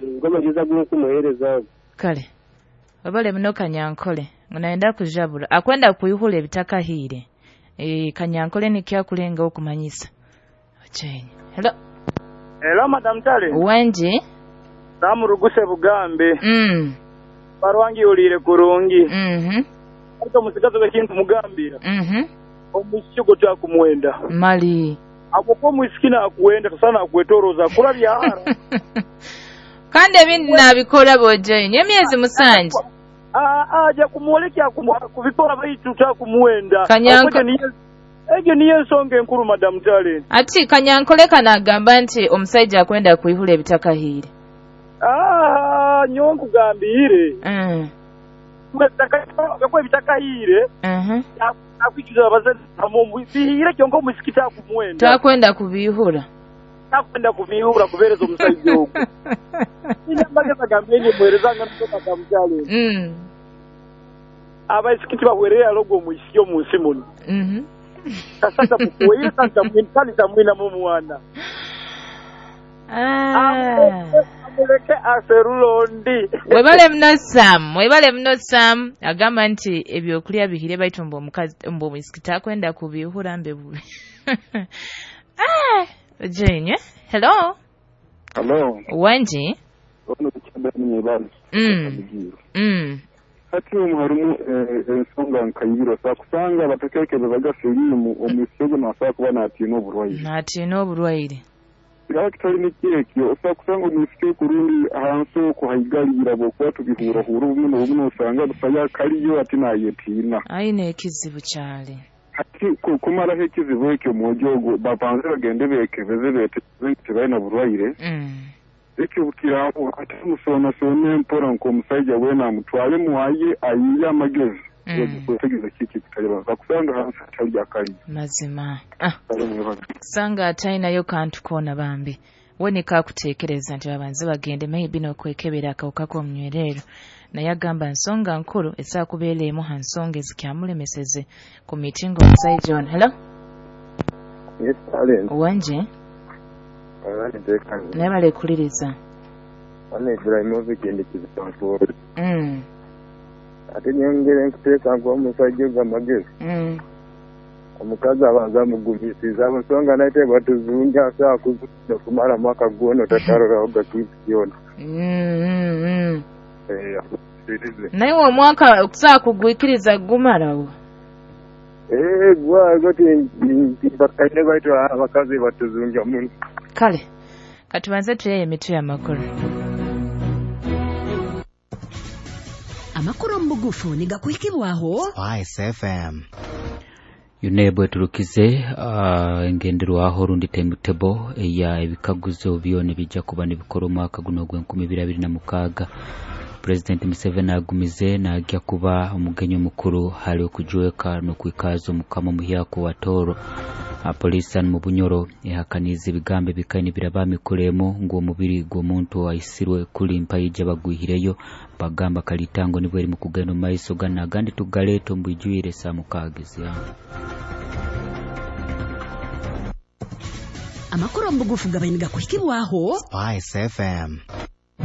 Ngomagezi agunkumuheereza. Kale webale muno Kanyankole, ngu kujabura akwenda kuihula ebitakahire. Kanyankole nikyakulenga okumanyisa. Ochenye. Hello. Hello Madam Tale. Wenji. Namuruguse Bugambe. Barwangi ulire kurungi. Ariko musigazo bekintu mugambira. Omushigo tyakumwenda. Mali. Ako omwisikina akuwenda tosana akwetoroza kulabya hara. Kandi ebindi nabikola bojenye emyezi 7. Aja kumwolekya kubikora baitu takumuwenda. Egyo niyo ensonga enkuru Madam Tale. Ati Kanyankole kanagamba nti omusajja akwenda kuihula ebitakahire. Nyo nkugambire. Kwa ebitakahire. Akwikiza abazazi bihire kyonka omusikita akumuwenda. Takwenda kubihura. Takwenda kubihura kubereza omusajja ogwo. Nambageza gambenye mwerezanga Madam Tale. Abasikiti bahwerera logo omwisiki omunsi muno. Kasata mukuweire kanta mwina mu mwana. Amuleke aserulondi. Webale mno Sam, webale mno Sam. Agamba nti ebyokulya bihire baitu mbo omukazi mbo omwisiki takwenda kubihura mbe bubi. Jenye. Hello. Hello. Wanji. Hati omuharimu ensonga nkayibiro sakusanga batekekereza sirimu omwisego nasobola kuba natiina oburwaire. Natiina oburwaire. Kitali nikyekyo osakusanga omwisiki kurundi ahansi okwo haigalira bwokuba tubihurahura obumwe n'obumwe osanga busaya kaliyo ati nayetiina. Aine ekizibu kyali. Hati kumaraho ekizibu ekyo omwojo ogwo babanze bagende bekebeze betegereze nti tibalina burwaire. Ekyo bukiraho ate musonasone mpora nk'omusajja weena amutwale muwaye ayiye amagezi. Kwetegereza kiki kitalibaza kusanga hansi atali akali. Mazima. Kusanga atainayo kantu koona bambi. We nikakuteekereza nti babanze bagende maybe n'okwekebera akawuka k'omunywerero. Naye agamba nsonga nkuru esakubeera emu ha nsonga ezikyamulemeseze ku mitingo omusajja ono. Hello? Yes, Allen. Wanje? Naye balekuliriza. Wana Ibrahimovic ndikizitantuoro. Ate nyongere nkuteeka nkuwa omusajja ogwo amagezi. Omukazi abanza amugumisiza ensonga naye batuzunga asobola kuzunga kumara mwaka gwona otatarolaho gakintu kyona. Naye omwaka okusobola kugwikiriza gumalawo. Gwago timbakaine baitu abakazi batuzunga muno. Kale katubanze tuyeye emitwe y'amakuru. Amakuru mu bugufu nigakuhikibwaho Spice FM. UNEB eturukize engenderwaho rundi timetable eya ebikaguzo byona bijja kuba nibikora omwaka guno ogw'2026. President Museveni agumize najja kuba omugenyi omukuru hali okujweka n'okwikaza omukama omuhyako wa Toro. Polisi mu Bunyoro ehakaniza ebigambo ebikaini biraba mikuremu ngu omubiri gw'omuntu aisirwe kuli mpayija bagwihireyo bagamba kalitango nibwo eri mu kugenda mu maiso gana agandi tugaleeta ombwijwire saa 6 z'eihangwe. Amakuru mu bugufu gabaine gakuhikibwaho Spice FM.